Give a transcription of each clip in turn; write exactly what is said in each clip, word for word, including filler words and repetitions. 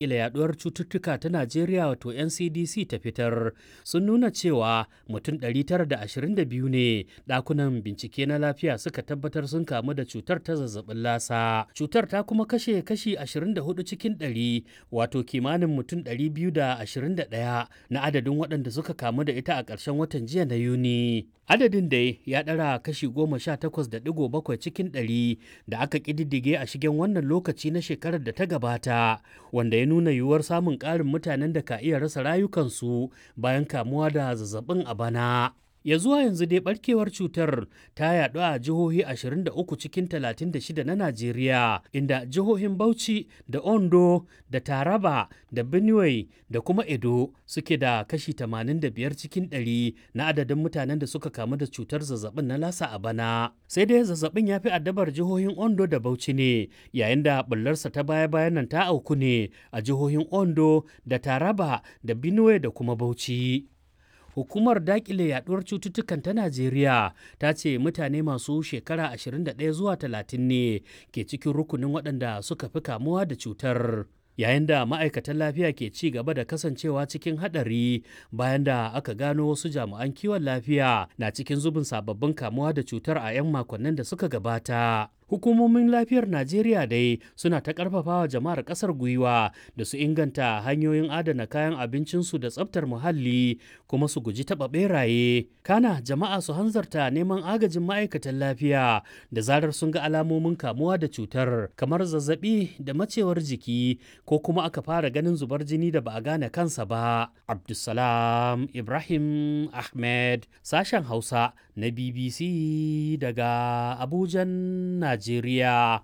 Daƙile Yaɗuwar Cututtuka ta Najeriya wato N C D C ta fitar sun nuna cewa mutum ɗari tara da ashirin da biyu ne ɗakunan bincike na lafiya suka tabbatar sun kamu da cutar ta zazzabin lasa. Cutar ta kuma kashe kashi ashirin da hudu cikin ɗari, wato kimanin mutum ɗari biyu da ashirin da ɗaya na adadin waɗanda suka kamu da ita a ƙarshen watan jiya na Yuni. Adadin dai ya ɗara kashi goma sha takwas da ɗigo bakwai cikin ɗari da aka ƙididdige a shigen wannan lokaci na shekarar da ta gabata, wanda ya nuna yiwuwar samun ƙarin mutanen da ka iya rasa rayukansu bayan kamuwa da zazzabin a bana. Ya zuwa yanzu dai barkewar cutar ta yaɗu a jihohi ashirin da uku cikin talatin da shida na Najeriya, inda jihohin Bauchi da Ondo da Taraba da Benue da kuma Edo suke da kashi tamanin da biyar cikin ɗari na adadin mutanen da suka kamu da cutar zazzabin na lasa a bana. Sai dai zazzabin ya fi addabar jihohin Ondo da Bauchi ne, yayin da bullarsa ta baya-bayan nan ta auku ne a jihohin Ondo da Taraba da Benue da kuma Bauchi. Hukumar dakile yaduwar cututtukan ta Najeriya ta ce mutane masu shekara ashirin da ɗaya zuwa talatin ne ke cikin rukunin waɗanda suka fi kamuwa da cutar. Yayin da ma'aikatan lafiya ke ci gaba da kasancewa cikin haɗari bayan da aka gano wasu jami'an kiwon lafiya na cikin zubin sababbin kamuwa da cutar a 'yan makonnin da suka gabata. Hukumomin lafiyar Najeriya dai suna ta karfafawa jama'ar kasar gwiwa da su inganta hanyoyin adana kayan abincinsu da tsaftar muhalli, kuma su guji taɓa beraye. Kana jama'a su hanzarta neman agajin ma'aikatan lafiya da zarar sun ga alamomin kamuwa da cutar, kamar zazzabi da macewar jiki, ko kuma aka fara ganin zubar jini da ba a gane kansa ba. Abdulsalam Ibrahim Ahmed, sashen Hausa na B B C daga Abujan, Najeriya.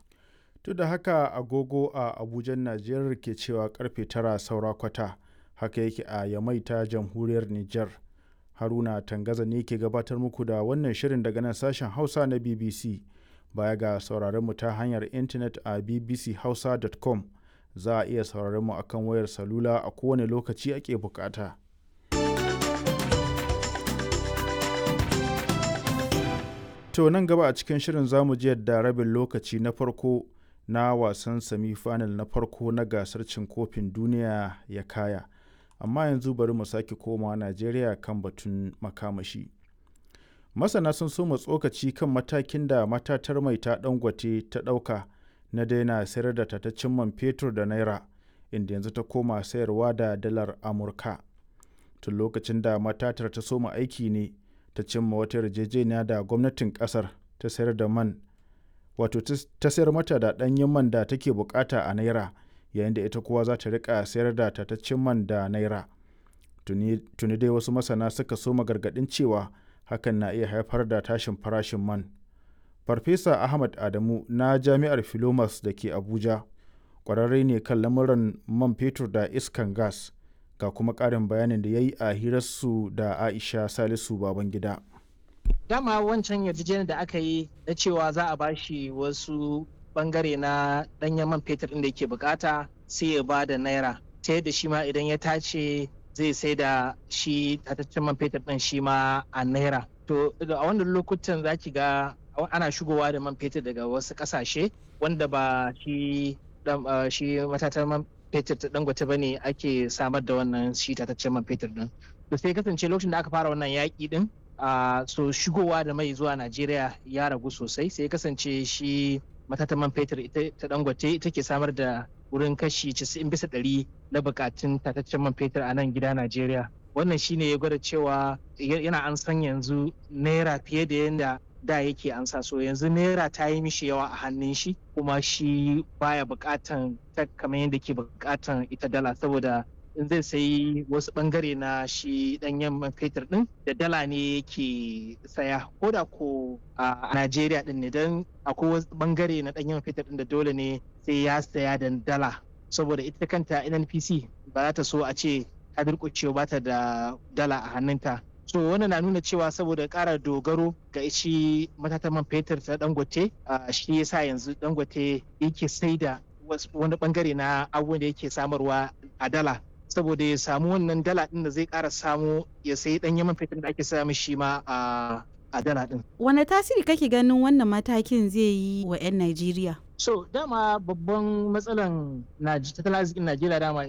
To da haka agogo a Abujan Najeriya ke cewa karfe tara saura kwata, haka yake a Yamai ta Jamhuriyar Nijar. Haruna Tangaza ne ke gabatar muku da wannan shirin daga nan sashen Hausa na B B C. Baya ga sauraron mu ta hanyar intanet a b b c hausa dot com, za a iya sauraron mu akan wayar salula a kowane lokaci ake bukata. To nan gaba a cikin shirin zamu ji yadda rabin lokaci na farko na wasan semi-final na farko na gasar cin kofin duniya ya kaya. Amma yanzu bari mu sake komawa Najeriya kan batun makamashi. Masana sun soma tsokaci kan matakin da matatar mai ta Dangote ta ɗauka na daina sayar da tataccen man fetur da naira, inda yanzu ta koma sayarwa da dalar Amurka. Tun lokacin da matatar ta soma aiki ne ta cimma wata yarjejeniya da gwamnatin kasar ta sayar da man, wato ta sayar mata da ɗanyen man da take bukata a naira, yayin da ita kuwa za ta rika sayar da tataccen man da naira. Tuni dai wasu masana suka soma gargaɗin cewa hakan na iya haifar da tashin farashin man. Farfesa Ahmad Adamu na Jami'ar Filomas da ke Abuja ƙwararre ne kan lamuran man fetur da iskan gas, ga kuma ƙarin bayanin da ya yi a hirarsu da Aisha Salisu Babangida. Dama wancan yarjejeniyar da aka yi na cewa za a bashi wasu bangare na danyen man fetur ɗin da yake bukata, sai ya ba da naira, ta yadda shi ma idan ya tace zai sai da shi tataccen man fetur ɗin shi ma a naira. To a wannan lokutan za ki ga ana shigowa da man fetur daga wasu ƙasashe wanda ba shi shi matatan man fetur ta Dangote bane ake samar da wannan shi tataccen man fetur din. To sai kasance lokacin da aka fara wannan yaƙi din, so shigowa da mai zuwa Najeriya ya ragu sosai, sai kasance shi matatan man fetur ita ta Dangote ita ke samar da wurin kashi casa'in bisa ɗari na bukatun tataccen man fetur a nan gida Najeriya. Wannan shine ya gwada cewa yana an san yanzu naira fiye da yadda da yake ansa. So yanzu naira ta yi mishi yawa a hannun shi, kuma shi baya bukatan ta kamar yadda ke bukatan ita dala, saboda in zai sayi wasu bangare na shi danyen man fetur din da dala ne yake saya, ko da ko a Najeriya din ne, don akwai wasu bangare na danyen man fetur din da dole ne sai ya saya da dala, saboda ita kanta N N P C ba za ta so a ce ta durƙuce ba ta da dala a hannunta. So wannan na nuna cewa saboda ƙara dogaro ga shi matatan man fetur ta Dangote, shi yasa yanzu Dangote yake sai da wani bangare na abubuwan da yake samarwa a dala, saboda ya samu wannan dala din da zai ƙara samu ya sayi ɗanyen man fetur da ake samu shi ma a dala din. Wane tasiri kake ganin wannan matakin zai yi wa 'yan Najeriya? So dama babban matsalan tattalin arzikin Najeriya dama